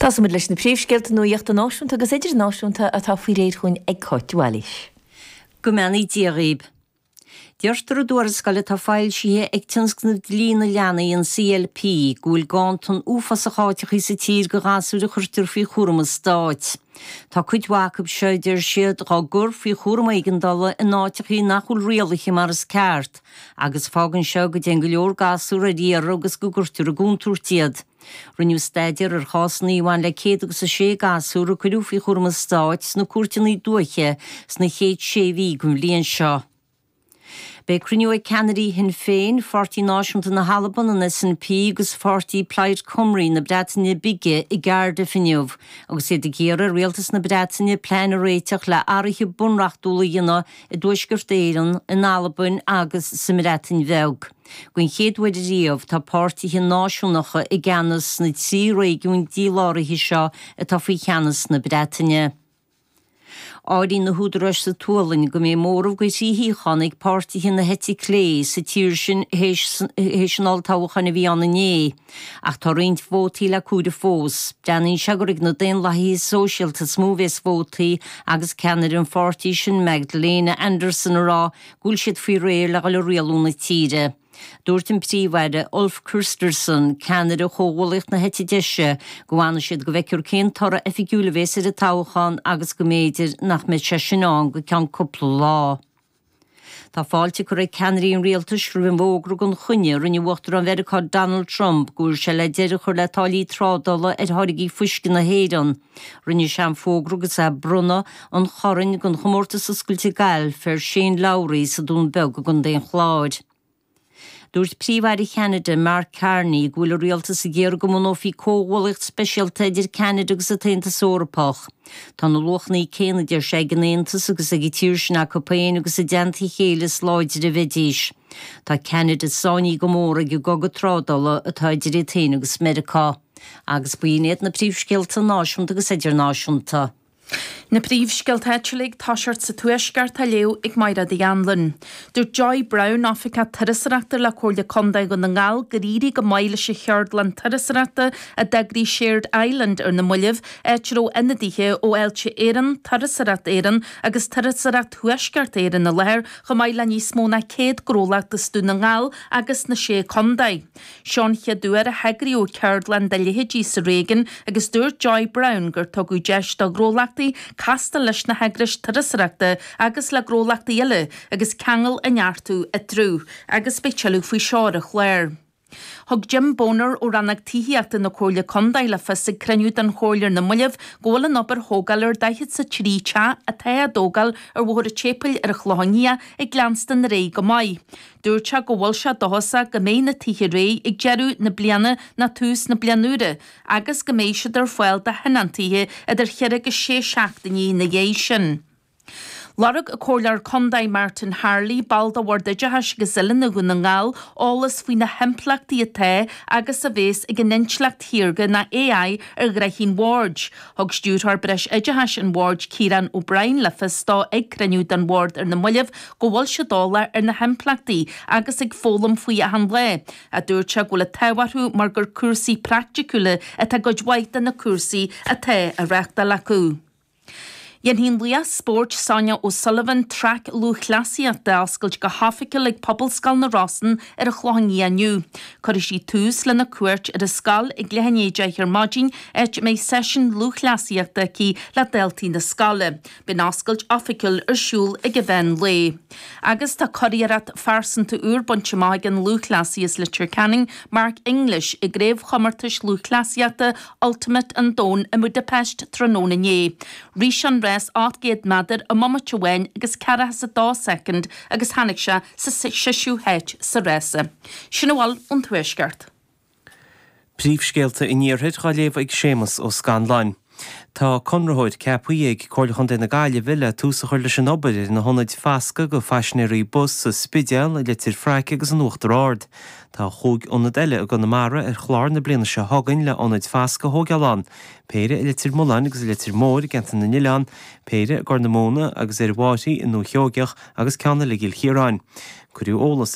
Tosóimid leis na príomhscéalta nuachta náisiúnta agus idirnáisiúnta atá faoi réir chugainn ag Cáit de Bhailís. Go mbeannaí Dia dhaoib. Deirtear i dtuarascáil atá foilsithe ag Tionscnamh Dlí na Leanaí, an CLP, go bhfuil ganntan uafásach áiteachaí sa tír do ghasúir a chuirtear faoi chúram an stáit. Tá cuid mhaith acu seo, a deir siad, dhá gcur faoi chúram éigeandála in áiteachaí nach bhfuil rialaithe mar is ceart, agus fágann seo go dtéann go leor gasúr ar iarraidh agus go gcuirtear i gcontúirt iad. Rinneadh staidéar ar chásanna a bhain le 106 gasúr a cuireadh faoi chúram an stáit sna cúirteanna dúiche sna chéad sé mhí den bhliain seo. Beidh cruinniú ag ceannairí Shinn Féin, Pháirtí Náisiúnta na hAlban, an SNP, agus pháirtí Plaid Cymru na Breataine Bige i gCardiff inniu agus iad ag iarraidh ar rialtas na Breataine plean a réiteach le athruithe bunreachtúla a dhéanamh i dTuaisceart Éireann, in Albain agus sa mBreatain Bheag. Den chéad uair riamh, tá páirtithe náisiúnacha i gceannas sna 3 réigiún díláraithe seo atá faoi cheannas na Breataine. Áiríonn na húdaráis sa tSualainn go mbeidh móramh de thrí shuíochán ag páirtithe na heite clé sa tír sin théis an olltoghcháin a bhí ann inné. Ach tá roinnt vótaí le comhaireamh fós. Breathnaíonn sé gur ag na Daonlathaithe Sóisialta is mó a bheas vótaí agus ceannaire an pháirtí sin Magdalena Andersson ag rá go bhfuil siad faoi réir le dhul ag rialú na tíre. Dúirt an Príomh-Aire Ulf Kristersson, ceannaire Chomhghuallaíocht na hEite Deise, go bhfanfaidh siad go bhfeicfear cén toradh oifigiúil a bhéas ar an toghchán agus go mb'fhéidir nach mbeidh sé sin ann go ceann cúpla lá. Tá fáilte curtha ag ceannairí an rialtais roimh an bhfógra gan choinne a rinne Uachtarán Mheiriceá Donald Trump go bhfuil sé le deireadh a chur le táillí trádála ar tháirgí fuisce na hÉireann. Rinne sé an fógra agus é ag bronnadh an choirn don Chomórtas Oscailte Gailf ar Shane Lowry sa Dún Beag i gContae an Chláir. Dúirt Príomh-Aire Cheanada, Mark Carney, go bhfuil a rialtas ag iarraidh go mbunófaí comhghuallaíocht speisialta idir Ceanada agus an tAontas Eorpach. Tá na luachanna céanna, a deir sé, ag an Aontas agus ag an tír sin acu féin agus i dteannta a chéile is láidre a bheidís. Tá Ceanada sáinnithe go mór ag an gcogadh trádála atá idir iad féin agus Meiriceá. Agus b'in iad na príomhscéalta náisiúnta agus idirnáisiúnta. Na príomhscéalta áitiúla ag toiseacht sa Tuaisceart á léamh ag Mairéad Uí Anluain. Dúirt Joy Browne, Oifigeach Turasóireachta le Comhairle Contae Dhún na nGall gur éirigh go maith leis an cheardlann turasóireachta a d'eagraigh Shared Island ar na mallaibh, áit a raibh ionadaithe ó Fháilte Éireann, Turasóireacht Éireann agus Turasóireacht Thuaisceart Éireann i láthair, chomh maith le níos mó ná 100 gnólacht as Dún na nGall agus na Sé Contae. Seo an chéad uair a heagraíodh ceardlann dá leithéidí sa réigiún agus dúirt Joy Browne gur tugadh deis do ghnólachtaí castáil leis na heagrais turasóireachta agus le gnólachtaí eile agus ceangal a neartú eatarthu agus beidh tuilleadh faoi seo ar an chlár. Thug Jim Boner ó Rannóg Tithíochta na Comhairle Contae le fios ag cruinniú den Chomhairle ar na mallaibh go bhfuil an obair thógála ar 43 teach atá á dtógáil ar Bhóthar an tSéipéil ar an Chlochán Liath ag leanstan ar aghaidh go maith. Dúirt sé go bhfuil sé dóchasach go mbeidh na tithe réidh ag deireadh na bliana nó tús na bliana úire agus go mbeidh siad ar fáil do thionóntaithe idir cheithre agus sé seachtainí ina dhiaidh sin. Lorg an Comhairleoir Contae Martin Harley, ball de Bhord Oideachais agus Oiliúna Dhún na nGall, eolas faoi na himpleachtaí atá agus a bhéas ag an intleacht shaorga nó AI ar ghnoithí an Bhoird. Thug Stiúrthóir Breisoideachais an Bhoird Ciarán O'Brien le fios dó ag cruinniú den Bhord ar na mallaibh go bhfuil siad eolach ar na himpleachtaí agus ag foghlaim faoi achan lá, a dúirt sé go bhfuil an t-ádh orthu mar gur cúrsaí praiticiúla atá i gcuid mhaith de na cúrsaí atá á reáchtáil acu. Dhéanfaidh an laoch spóirt Sonia O'Sullivan traic lúthchleasaíochta a oscailt go hoifigiúil ag Pobalscoil na Rosann ar an Chlochán Liath inniu. Cuirfidh sí tús lena cuairt ar an scoil ag leath i ndiaidh 10 ar maidin, áit a mbeidh seisiún lúthchleasaíochta aici le daltaí na scoile. Beidh an oscailt oifigiúil ar siúl ag an mheán lae. Agus tá curiarracht phearsanta úr bainte amach ag an lúthchleasaí as Leitir Ceanainn, Mark English, i gCraobhchomórtais Lúthchleasaíochta Ultimate an Domhain i mBudapest tráthnóna inné. Rith sé an rás 800 méadar i mbomaite amháin agus 42 soicind agus tháinig sé sa seisiú háit sa rása. Sin a bhfuil ón Tuaisceart. Príomhscéalta an Iarthair á léamh ag Séamus Ó Scanláin. Tá conraitheoir ceaptha ag Comhairle Chontae na Gaillimhe le tús a chur leis an obair ar na hionaid fasctha do phaisinéirí bus sa Spidéal, i Leitir Fraic agus in Uachtar Ard. Tá chúig ionad eile i gConamara ar chlár na bliana seo chugainn le hionaid fasctha a thógáil ann, péire i Leitir Mealláin agus i Leitir Móir i gCeantar na nOileán, péire i gCorr na Móna agus ar an bhFairche i nDúiche Sheoigeach agus ceann eile i gCill Chiaráin. Cuireadh eolas.